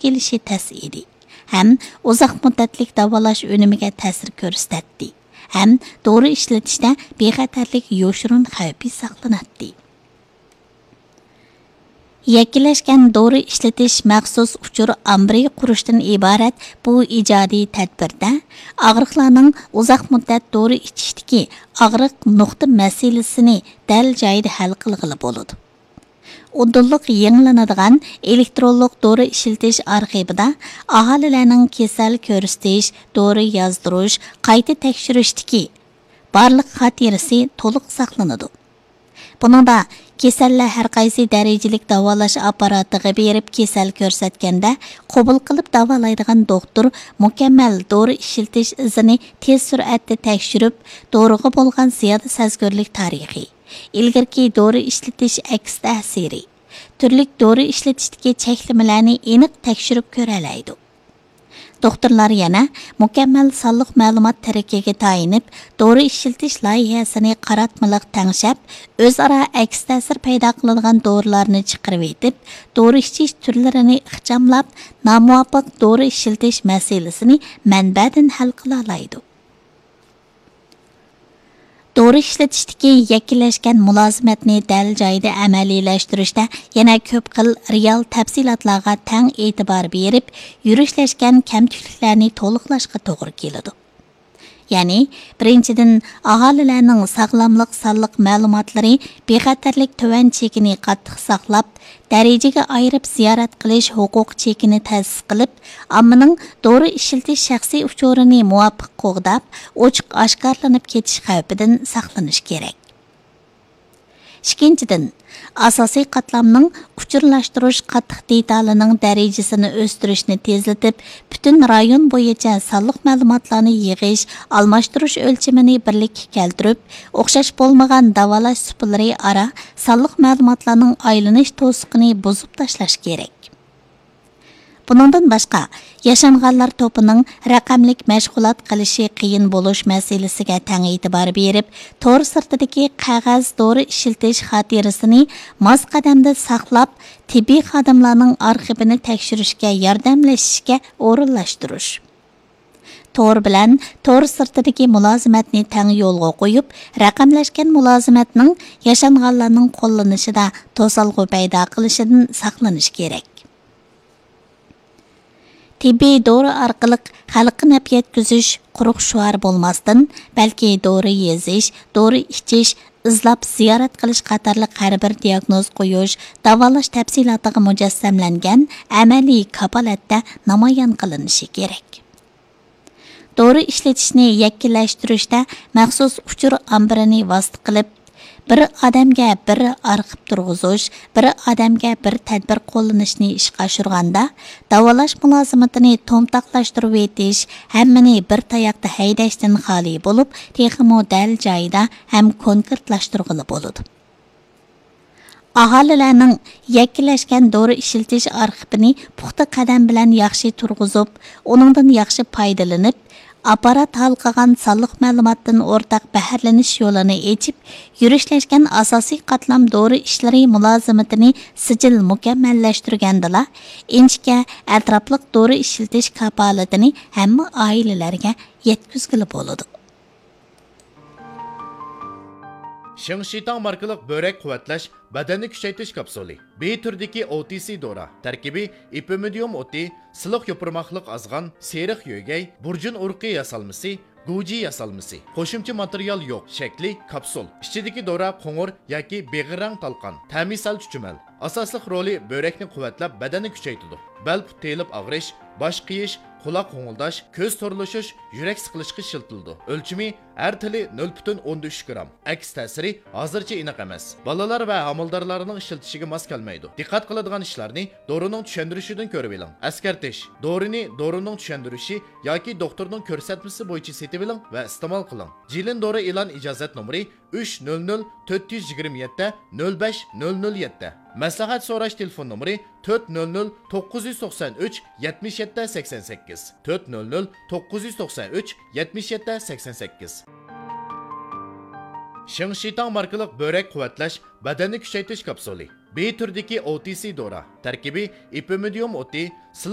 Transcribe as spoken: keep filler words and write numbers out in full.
كېلىشى تەس ئىدى ھەم ئۇزاق مۇددەتلىك داۋالاش ئۈنۈمىگە تەسىر كۆرسىتەتتى ھەم دورا ئىشلىتىشتە بىخەتەرلىك يوشۇرۇن خەۋپى ساقلىناتتى. يەككىلەشكەن دورا ئىشلىتىش مەخسۇس ئۇچۇر ئامبىرى قۇرۇشتىن ئىبارەت بۇ ئىجادىي تەدبىردە ئاغرىقلارنىڭ ئۇزاق مۇددەت دورا ئىچىشتىكى ئاغرىق نۇقتا مەسىلىسىنى دەل جايىدا ھەل قىلغىلى بولىدۇ. ئۇدۇللۇق يېڭىلىنىدىغان ئېلېكترونلۇق دورا ئىشلىتىش ئارخىپىدا ئاھالىلەرنىڭ كېسەل كۆرسىتىش، دورا يازدۇرۇش، قايتا تەكشۈرۈشتىكى بارلىق خاتىرىسى تولۇق ساقلىنىدۇ. بۇنىڭدا كېسەللەر ھەرقايسى دەرىجىلىك داۋالاش ئاپپاراتىغا بېرىپ كېسەل كۆرسەتكەندە، قوبۇل قىلىپ داۋالايدىغان دوختۇر مۇكەممەل دورا ئىشلىتىش ئىزىنى تېز سۈرئەتتە تەكشۈرۈپ، دورىغا بولغان زىيادە سەزگۈرلۈك تارىخى، ئىلگىرىكى دورا ئىشلىتىش ئەكس تەسىرى، تۈرلۈك دورا ئىشلىتىشتىكى چەكلىمىلەرنى ئېنىق تەكشۈرۈپ كۆرەلەيدۇ. دوختۇرلار يەنە مۇكەممەل سانلىق مەلۇمات تىرىكىگە تايىنىپ، دورا ئىشلىتىش لايىھەسىنى قاراتمىلىق تەڭشەپ، ئۆزئارا ئەكس تەسىر پەيدا قىلىدىغان دورىلارنى چىقىرىۋېتىپ، دورا ئىچىش تۈرلىرىنى ئىخچاملاپ، نامۇۋاپىق دورا ئىشلىتىش مەسىلىسىنى مەنبەدىن ھەل قىلالايدۇ. دورا ئىشلىتىشتىكى يەككىلەشكەن مۇلازىمەتنى دەل جايىدا ئەمەلىيلەشتۈرۈشتە يەنە كۆپ خىل رېئال تەپسىلاتلارغا تەڭ ئېتىبار بېرىپ، يۈرۈشلەشكەن كەمتۈكلۈكلەرنى تولۇقلاشقا توغرا كېلىدۇ. يەنى، بىرىنچىدىن، ئاھالىلەرنىڭ ساغلاملىق سانلىق مەلۇماتلىرى بىخەتەرلىك تۆۋەن چېكىنى قاتتىق ساقلاپ، دەرىجىگە ئايرىپ زىيارەت قىلىش ھوقۇق چېكىنى تەسىس قىلىپ، ئاممىنىڭ دورا ئىشلىتىش شەخسىي ئۇچۇرىنى مۇۋاپىق قوغداپ، ئوچۇق ئاشكارىلىنىپ كېتىش خەۋپىدىن ساقلىنىش كېرەك. ئىككىنچىدىن، ئاساسىي قاتلامنىڭ ئۇچۇرلاشتۇرۇش قاتتىق دېتالىنىڭ دەرىجىسىنى ئۆستۈرۈشنى تېزلىتىپ، پۈتۈن رايون بويىچە سانلىق مەلۇماتلارنى يىغىش، ئالماشتۇرۇش ئۆلچىمىنى بىرلىككە كەلتۈرۈپ، ئوخشاش بولمىغان داۋالاش سۇپىلىرى ئارا سانلىق مەلۇماتلارنىڭ ئايلىنىش توسۇقىنى بۇزۇپ تاشلاش كېرەك. بۇنىڭدىن باشقا، ياشانغانلار توپىنىڭ رەقەملىك مەشغۇلات قىلىشى قىيىن بولۇش مەسىلىسىگە تەڭ ئېتىبار بېرىپ، تور سىرتىدىكى قەغەز دورا ئىشلىتىش خاتىرىسىنى ماس قەدەمدە ساقلاپ، تېببىي خادىملارنىڭ ئارخىپىنى تەكشۈرۈشكە ياردەملىشىشكە ئورۇنلاشتۇرۇش. تور بىلەن تور سىرتىدىكى مۇلازىمەتنى تەڭ يولغا قويۇپ، رەقەملەشكەن مۇلازىمەتنىڭ ياشانغانلارنىڭ قوللىنىشىدا توسالغۇ پەيدا قىلىشىدىن ساقلىنىش كېرەك. تېببىي دورا ئارقىلىق خەلققە نەپ يەتكۈزۈش قۇرۇق شوئار بولماستىن، بەلكى دورا يېزىش، دورا ئىچىش، ئىزلاپ زىيارەت قىلىش قاتارلىق ھەر بىر دىياگنوز قويۇش، داۋالاش تەپسىلاتىغا مۇجەسسەملەنگەن ئەمەلىي كاپالەتتە نامايان قىلىنىشى كېرەك. دورا ئىشلىتىشنى يەككىلەشتۈرۈشتە مەخسۇس ئۇچۇر ئامبىرىنى ۋاسىتە قىلىپ، بىر ئادەمگە بىر ئارخىپ تۇرغۇزۇش، بىر ئادەمگە بىر تەدبىر قوللىنىشنى ئىشقا ئاشۇرغاندا، داۋالاش مۇلازىمىتىنى تومتاقلاشتۇرۇۋېتىش، ھەممىنى بىر تاياقتا ھەيدەشتىن خالىي بولۇپ، تېخىمۇ دەل جايىدا ھەم كونكرېتلاشتۇرغىلى بولىدۇ. ئاھالىلەرنىڭ يەككىلەشكەن دورا ئىشلىتىش ئارخىپىنى پۇختا قەدەم بىلەن ياخشى تۇرغۇزۇپ، ئۇنىڭدىن ياخشى پايدىلىنىپ، ئاپپارات ھالقىغان سانلىق مەلۇماتتىن ئورتاق بەھرىلىنىش يولىنى ئېچىپ، يۈرۈشلەشكەن ئاساسىي قاتلام دورا ئىشلىرى مۇلازىمىتىنى سىجىل مۇكەممەللەشتۈرگەندىلا، ئىنچىكە، ئەتراپلىق دورا ئىشلىتىش كاپالىتىنى ھەممە ئائىلىلەرگە يەتكۈزگىلى بولىدۇ. شىڭشىتاڭ ماركىلىق بۆرەك قۇۋۋەتلەش، بەدەننى كۈچەيتىش كاپسۇلى. بى تۈرىدىكى ئو تى سى دورا. تەركىبى ئېپىمىدىيۇم ئوتى، سىلىق يوپۇرماقلىق ئازغان، سېرىق يۆگەي، بۇرجۇن ئۇرۇقى ياسالمىسى، گۇجى ياسالمىسى. قوشۇمچە ماتېرىيال يوق. شەكلى كاپسۇل. ئىچىدىكى دورا قوڭۇر ياكى بېغىر رەڭ تالقان. تەمى سەل چۈچۈمەل. ئاساسلىق رولى بۆرەكنى قۇۋۋەتلەپ، بەدەننى كۈچەيتىدۇ. بەل پۇت تېيىلىپ ئاغرىش، باش قېيىش، قۇلاق غوڭۇلداش، كۆز تورلىشىش، يۈرەك سىقىلىشقا ئىشلىتىلىدۇ. ئۆلچىمى ھەر تىلى نۆل پۈتۈن ئوندىن ئۈچ گرام. ئەكس تەسىرى ھازىرچە ئېنىق ئەمەس. بالىلار ۋە ھامىلىدارلارنىڭ ئىشلىتىشىگە ماس كەلمەيدۇ. دىققەت قىلىدىغان ئىشلارنى دورىنىڭ چۈشەندۈرۈشىدىن كۆرۈۋېلىڭ. ئەسكەرتىش: دورىنى دورىنىڭ چۈشەندۈرۈشى ياكى دوختۇرنىڭ كۆرسەتمىسى بويىچە سېتىۋېلىڭ ۋە ئىستېمال قىلىڭ. جىلىن دورا ئېلان ئىجازەت نومۇرى ئۈچ نۆل نۆل تۆت يۈز يىگىرمە يەتتە نۆل بەش نۆل نۆل يەتتە. مەسلىھەت سوراش تېلېفون نومۇرى تۆت نۆل نۆل توققۇز يۈز توقسان ئۈچ يەتمىش يەتتە سەكسەن سەككىز، تۆت نۆل نۆل توققۇز يۈز توقسان ئۈچ يەتمىش يەتتە سەكسەن سەككىز. شىڭشىتاڭ ماركىلىق بۆرەك قۇۋۋەتلەش، بەدەننى كۈچەيتىش كاپسۇلى. بى تۈرىدىكى ئو تى سى دورا. تەركىبى ئېپىمىدىيۇم ئوتى، سىلىق